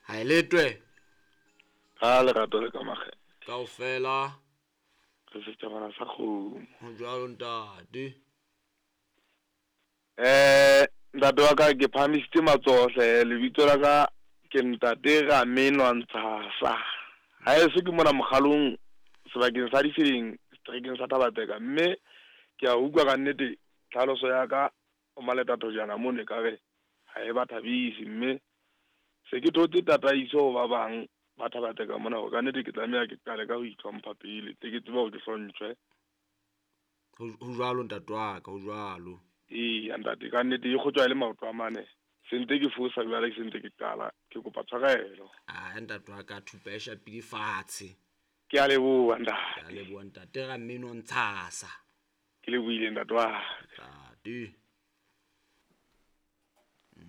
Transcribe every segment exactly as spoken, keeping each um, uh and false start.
Ha e letwe. Ka lerato le ka makgethe. Kaofela. Re setjhabana sa kgomo. Ho jwalo ntate. Eh, ntate wa ka ke phahamisitse matsoho hle, lebitso la ka ke ntate Ramenwa Ntshasa. Ha eso ke mona mokgalong sebakeng sa Difileng, seterekeng sa Thabateka, mme ke a utlwa ka nnete tlhaloso ya ka o Maleta Thojana mono ekare ha e ba thabise, mme se ke thotse tataiso ho ba bang ba Thabateka mona hore ka nnete ke tlameha ke qale ka ho itlhompha pele, tle ke tsebe hore ke hlomphe. Ho jwalo ntate wa ka, ho jwalo. Eya ntate, ka nnete e kgotjwa e le maoto a mane. Se ntse ke fosa jwale, ke se ntse ke qala, ke kopa tshwarelo. Ah, ntate wa ka, thupa e shapile fatshe. Ke a leboha ntate. Ke a leboha ntate Rameno Ntshasa. Ke lebohile ntate wa ka. Ntate.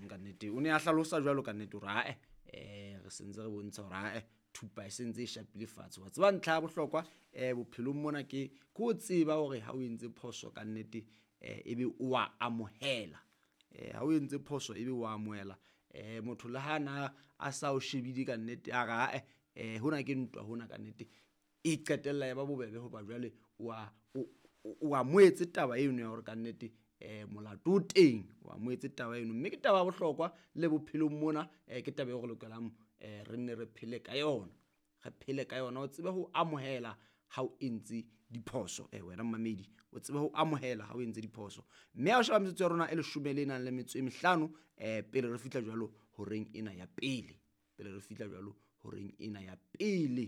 Ka nnete o ne a hlalosa jwalo ka nnete hore ae, eh re sentse re bontsha hore ae thupa e sentse e shapile fatshe. Wa tseba ntlha ya bohlokwa eh bophelong mona ke ke o tseba hore ha o entse phoso ka nnete eh ebe o a amohela. Eh ha o entse phoso ebe o amohela. Eh motho le ha na a sa o shebile ka nnete a re ae eh hona ke ntwa hona ka nnete e qetella ya ba bobebe hoba jwale o a o amohetse taba eno ya hore ka nnete eh molato o teng, o amohetse taba eno, mme ke taba ya bohlokwa le bophelong mona, eh ke taba eo re lokelang eh re nne re phele ka yona, re phele ka yona. O tsebe ho amohela ha o entse diphoso, eh wena mmamedi o tsebe ho amohela ha o entse diphoso. Mme ha o sheba metsotso ya rona e leshome le nang le metso e mehlano eh pele re fihla jwalo horeng ena ya pele, pele re fihla jwalo horeng ena ya pele.